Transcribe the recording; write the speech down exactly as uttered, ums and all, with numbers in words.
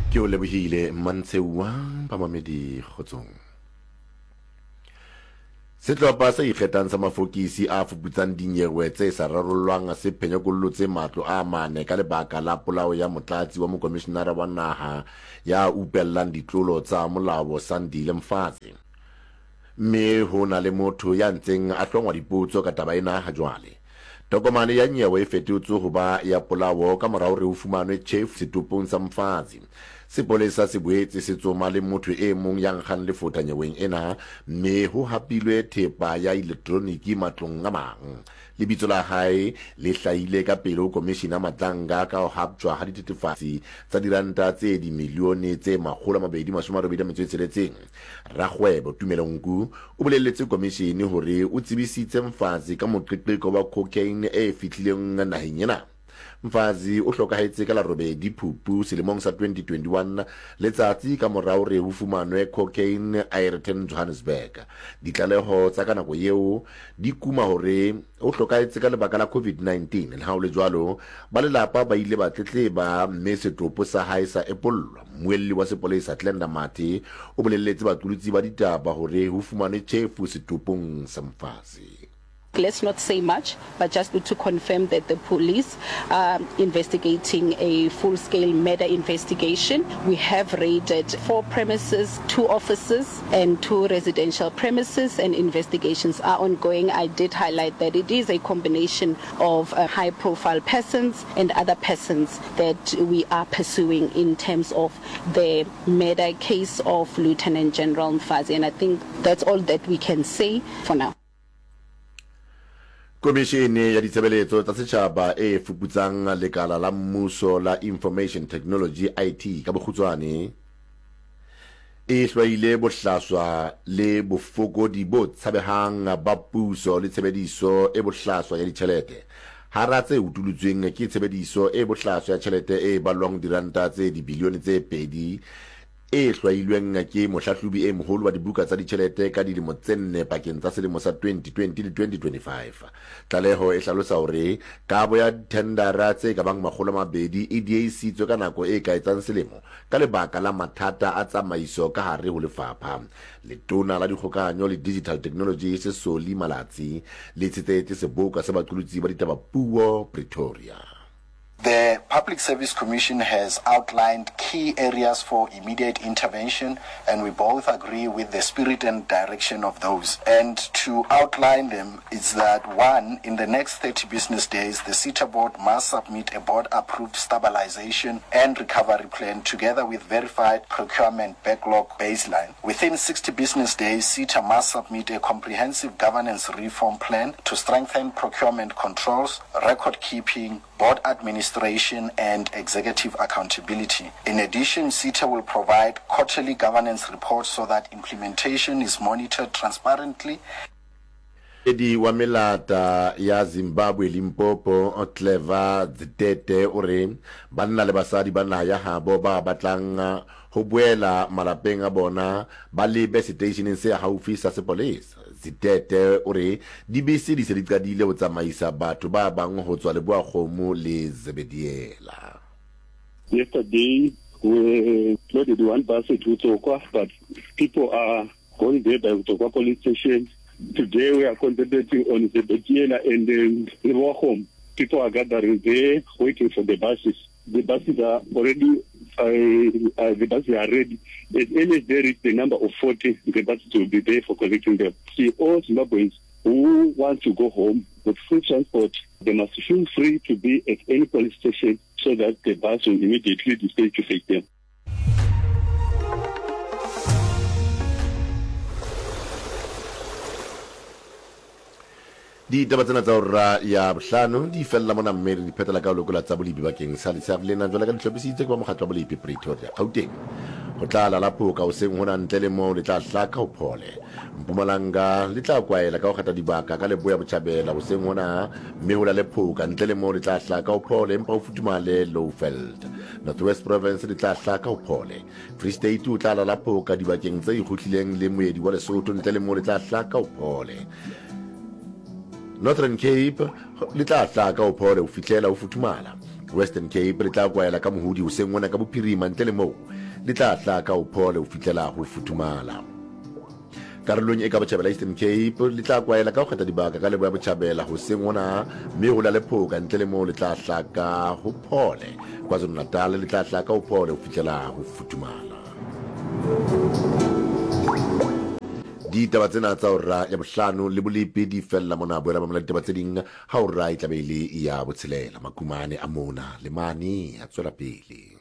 Ke o lebohile Mantsheuwa bamamedi kgotsong. Sehlopha se ikgethang sa mafokisi a fuputsang dinyewe tse sa rarollwang se phenyekollotse matlo a mane ka lebaka la polao ya motlatsi wa mokomishinara wa naha ya upellang ditlolo tsa molao Sandile Mfazi. Mme ho na le motho ya ntseng a hlongwa dipotso ka taba ena ha jwale. Tokomane ya nyewe e fetotswe ho ba ya polao ka mora hore ho fumanwe tjhefu setopong sa Mfazi. Sepolesa se boetse se tsoma le motho e mong ya nkgang lefotha nyeweng ena, mme ho hapilwe thepa ya elektroniki matlong a mang. Lebitso la hae le hlahile ka pele ho Komishina Madlanga ka ho haptjwa ha dithethefatsi tsa diranta tse dimilione tse makgolo a mabedi mashome a robedi a metso e tsheletseng. Rakgwebo Tumelo Nku o bolelletse komishini hore o tsebisitse Mfazi ka moqeqeko wa cocaine e fihlileng naheng ena. Mfazi o hlokahetse ka la robedi Phupu selemong sa twenty twenty-one, letsatsi ka mora hore ho fumanwe cocaine Aeroton Johannesburg. Ditlaleho tsa ka nako eo di kuma hore o hlokahetse ka lebaka la COVID nineteen. Le ha ho le jwalo, ba lelapa ba ile ba tletleba mme setopo sa hae sa epollwa. Mmuelli wa sepolesa Glenda Mathe o bolelletse baqolotsi ba ditaba hore ho fumanwe tjhefu setopong sa Mfazi. Let's not say much, but just to confirm that the police are investigating a full-scale murder investigation. We have raided four premises, two offices and two residential premises, and investigations are ongoing. I did highlight that it is a combination of, uh, high-profile persons and other persons that we are pursuing in terms of the murder case of Lieutenant General Mfazi, and I think that's all that we can say for now. Komishene ya ditshebeletso tsa setjhaba e fuputsang lekala la mmuso la Information Technology I T ka bokgutshwane e hlwaile bohlaswa le bofokodi bo tshabehang ba puso le tshebediso e bohlaswa ya ditjhelete. Hara tse utulotsweng ke tshebediso e bohlaswa ya tjhelete e ballwang diranta tse dibilione tse pedi e hlwailweng ke mohlahlobi e moholo wa dibuka tsa ditjhelete ka dilemo tse nne pakeng tsa selemo sa twenty twenty le twenty twenty-five. Tlaleho e hlalosa hore kabo ya thendara tse ka bang makgolo a mabedi e diehisitswe ka nako e ka etsang selemo ka lebaka la mathata a tsamaiso ka hare ho lefapha. Letona la dikgokahanyo le Digital Technology Sesoli Malatsi le tshetetse seboka sa baqolotsi ba ditaba puo Pretoria. The Public Service Commission has outlined key areas for immediate intervention, and we both agree with the spirit and direction of those. And to outline them is that, one, in the next thirty business days, the SETA board must submit a board-approved stabilization and recovery plan together with verified procurement backlog baseline. Within sixty business days, SETA must submit a comprehensive governance reform plan to strengthen procurement controls, record keeping, board administration and executive accountability. In addition, SETA will provide quarterly governance reports so that implementation is monitored transparently. Edi wa melata ya Zimbabwe Limpopo Clever Zitete o re banna le basadi ba naha ya habo ba batlang ho boela malapeng a bona ba lebe seteisheneng se haufi sa sepolesa. Zitete o re dibese di se di qadile ho tsamaisa batho ba bang ho tswa Leboa-Kgomo le Zebediela. Yesterday we loaded one bus to Utsokwa, but people are going there by Utsokwa police station. Today we are concentrating on Zebediela and um, Leboa-Kgomo. People are gathering there waiting for the buses. The buses are already uh, uh, the buses are ready. As early as they reach the number of forty, the buses will be there for collecting them. See, all Zimbabweans who want to go home with free transport, they must feel free to be at any police station so that the bus will immediately dispatch to take them. Ditaba tsena tsa hora ya bohlano di fella mona mme re di phetela ka ho lekola tsa bolipi bakeng sa letshehare lena jwale ka di hlophisitse ke ba mokgatlo wa bolipi Pretoria. Gauteng ho tla lala phoka hoseng hona ntle le moo le tla hlaka ho phole. Mpumalanga le tla kwaela ka ho kgetha dibaka ka leboya botjhabela hoseng hona mme ho lale phoka ntle le moo le tla hlaka ho phole empa ho futhumale Lowveld. North West Province le tla hlaka ho phole. Free State o tla lala phoka dibakeng tse ikgohlileng le moedi wa Lesotho ntle le moo le tla hlaka ho phole. Northern Cape le tla hlaka ho phole ho fihlela ho futhumala. Western Cape le tla kwaela ka mohodi hoseng hona ka bophirima, ntle le moo le tla hlaka ho phole ho fihlela ho futhumala. Karolong e ka botjhabela Eastern Cape le tla kwaela ka ho kgetha dibaka ka leboya botjhabela hoseng hona, mme ho la le phoka, ntle le moo le tla hlaka ho phole. KwaZulu-Natal le tla hlaka ho phole ho fihlela ho futhumala. Ditaba tsena tsa hora ya bohlano le bolepi di fella mona. Boela mamela ditaba tse ding ha hora e tlabe e le ya botshelela. Makumane a mona le mane a tswela pele.